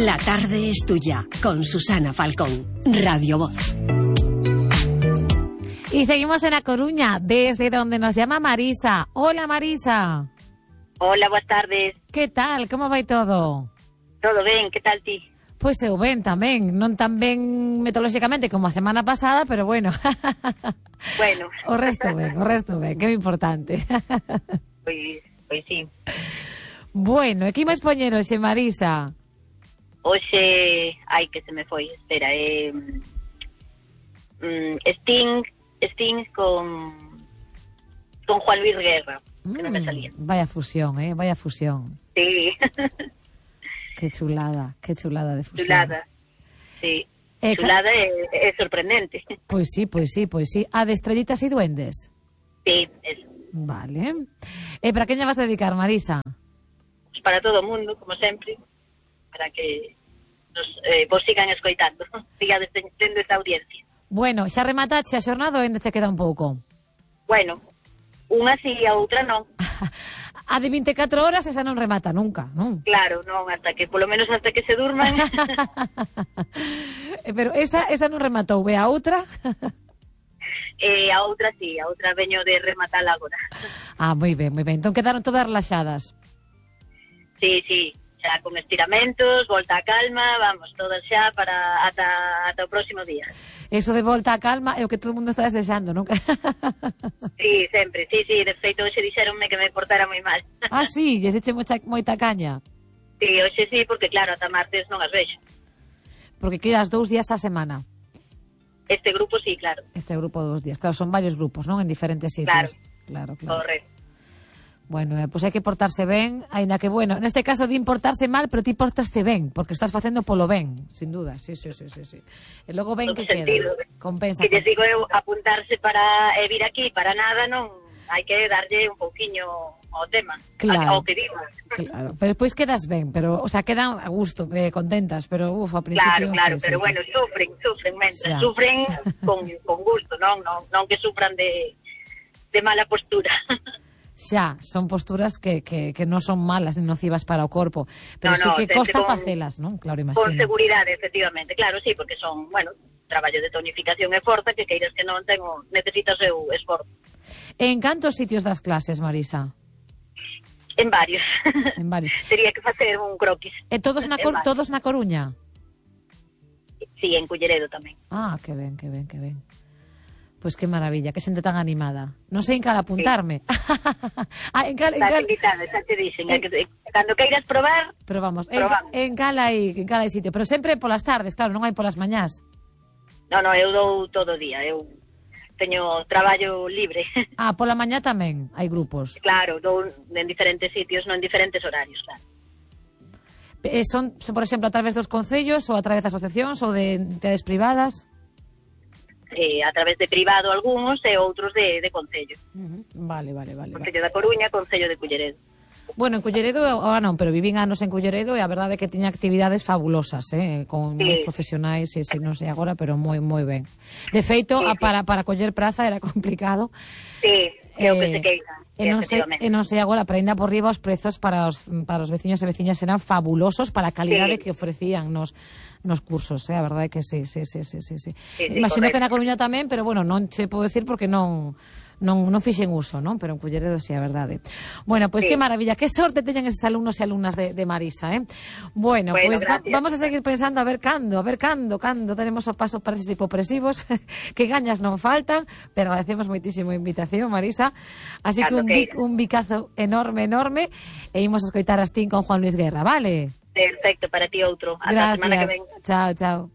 La tarde es tuya, con Susana Falcón, Radio Voz. Y seguimos en A Coruña, desde donde nos llama Marisa. Hola, Marisa. Hola, buenas tardes. Que tal? Como vai todo? Todo ben, que tal ti? Pois eu ben tamén, non tan ben metodolóxicamente como a semana pasada, pero bueno. Bueno. O resto ben, que é importante. Pois sí. Bueno, e que imos poñer hoxe, Marisa? Hoxe, ai que se me foi, espera, Sting con Juan Luis Guerra, que non me salía. Vaya fusión, vaya fusión. Sí. Qué chulada de fusión. Chulada, sí. Chulada é sorprendente. Pois sí. A de Estrellitas e Duendes? Sí, eso. Vale. E para quen lle vas a dedicar, Marisa? Pues para todo o mundo, como sempre, para que vos sigan escoitando, sigades tendo esta audiencia. Bueno, xa rematache a xornada ou ainda che queda un pouco? Bueno, unha si a outra non. A de 24 horas esa non remata nunca, non? Claro, non, polo menos hasta que se durman. Pero esa non rematou, ve a outra? A outra sí, a outra veño de rematar agora. Ah, moi ben. Entón quedaron todas relaxadas. Sí, xa con estiramentos, volta a calma, vamos, todas xa para ata o próximo día. Eso de volta a calma é o que todo o mundo está desexando, non? Sí, sempre, sí, de feito hoxe dixeronme que me portara moi mal. Ah, sí, lle eche moita caña. Sí, hoxe sí, porque claro, ata martes non as vexo. Porque quedas 2 días a semana. Este grupo sí, claro. Este grupo 2 días, claro, son varios grupos, non? En diferentes sitios. Claro. Correcto. Bueno, pois hai que portarse ben, aínda que, bueno, neste caso din portarse mal, pero ti portaste ben, porque estás facendo polo ben, sin duda, sí. E logo ben que queda, compensa. Que te digo eu, apuntarse para vir aquí, para nada, non, hai que darlle un pouquiño ao tema, ao que digo. Claro, pero despois quedas ben, pero, o sea, quedan a gusto, contentas, pero, ao principio... Claro, pero bueno, sufren con gusto, non que sufran de mala postura. Xa, son posturas que non son malas ni nocivas para o corpo, pero sí que costa facelas, non? Claro, imagino. Con seguridade, efectivamente, claro, sí, porque son, bueno, traballo de tonificación e forza que queiras que non necesita o seu esforzo. En cantos sitios das clases, Marisa? En varios. Tería que facer un croquis. E todos na Coruña? Sí, en Culleredo tamén. Ah, que ben. Pois que maravilla, que xente tan animada. Non sei en cal apuntarme. Sí. Estás invitada, xa te dixen. Cando queiras probar, pero vamos, en cal hai sitio. Pero sempre polas tardes, claro, non hai polas mañás. Non, eu dou todo o día. Eu teño traballo libre. Ah, pola mañá tamén hai grupos. Claro, dou en diferentes sitios, non en diferentes horarios, claro. Son, por exemplo, a través dos concellos ou a través de asociacións ou de entidades privadas? A través de privado algúns e outros de concello. Vale. Concello da Coruña, Concello de Culleredo. Bueno, en Culleredo ahora non, pero vivín anos en Culleredo e a verdade é que tiña actividades fabulosas, con profesionais, non sei agora, pero moi ben. De feito, para coller praza era complicado. Sí, é o que se queixa. E non sei agora, pero ainda por riba os prezos para os veciños e veciñas eran fabulosos para a calidade que ofrecían nos cursos, a verdade é que sí. Imagino que na Coruña tamén, pero bueno, non che podo decir porque non fixen uso, non? Pero en Culleredo sí, a verdade. Bueno, pois que maravilla, que sorte teñen eses alumnos e alumnas de Marisa, Bueno, pois vamos a seguir pensando a ver cando tenemos o paso para eses hipopresivos, que gañas non faltan, pero agradecemos moitísimo a invitación, Marisa. Así que un bicazo enorme, e imos a escoitar a Sting con Juan Luis Guerra, vale? Perfecto, para ti outro. Ata a semana que ven. Chao.